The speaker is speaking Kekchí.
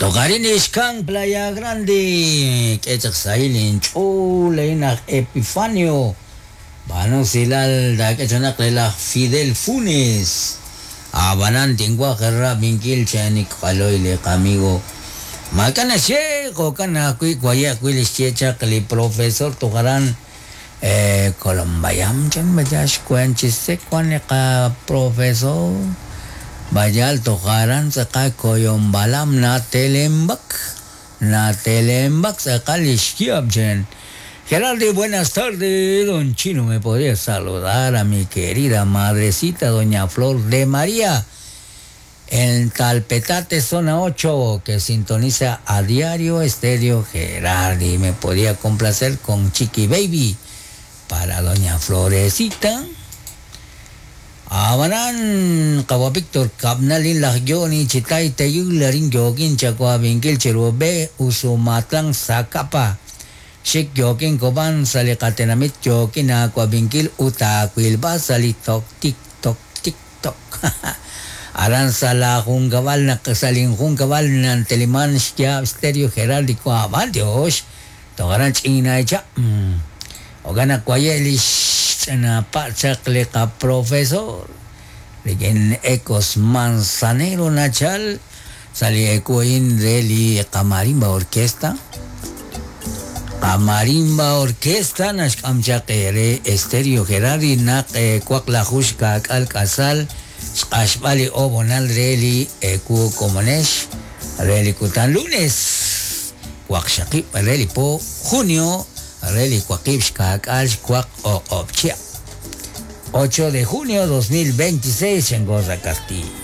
Toqarin ixkan Playa Grande, k'e chaq sahil inch'ool laj Epifanio. B'aanu silal taak'e chanaq re laj Fidel Funes. Abanan tinwaj rab'inkil chanik q'aloy li qamigo. Maak'a' naxye jo'kan ajwi' waye' ajwi' li xye chaq li profesor tojaran Colombayam chan vaya xkuen chisek wan li qaprofesor. Bayal tojaran tz'aqal Koyombalam natelembak natelembak tz'aqal li xyab' chen. Gerardo, buenas tardes. Don Chino, ¿me podría saludar a mi querida madrecita, doña Flor de María? En Talpetate, zona 8, que sintoniza a diario Estéreo Gerardi. Me podía complacer con Chiqui Baby para doña Florecita. Abanan, Kawa Víctor, Kapnalin laj Johnny, Chitay, Teyularin, Yogin, Chakua, Vinkil, Cherube, Usumatlán, Zacapa. Xik yokin koban salikatenamit yokin aquavinkil utakwilba salitok tik tok tik tok. Aran sala junkabal nak salin junkabal nanteliman xya stereo geraldico aban Dios. Togaran china echa. Ogana kwayelish chana pachak profesor. Ligen ecos manzanero nachal. Sali ecoin de li camarimba orquesta. Camarimba Orquesta naxk'amchaqere Estéreo Gerardi naq kwaq lajux ka'k'al k'asal xq'axb'al li obonal re li eku komonex re li kutan lunes waqxaqib' re li po junio re li waqib' xka'k'al xwaq o'q'ob' 8 de junio 2026 en Goza Castillo.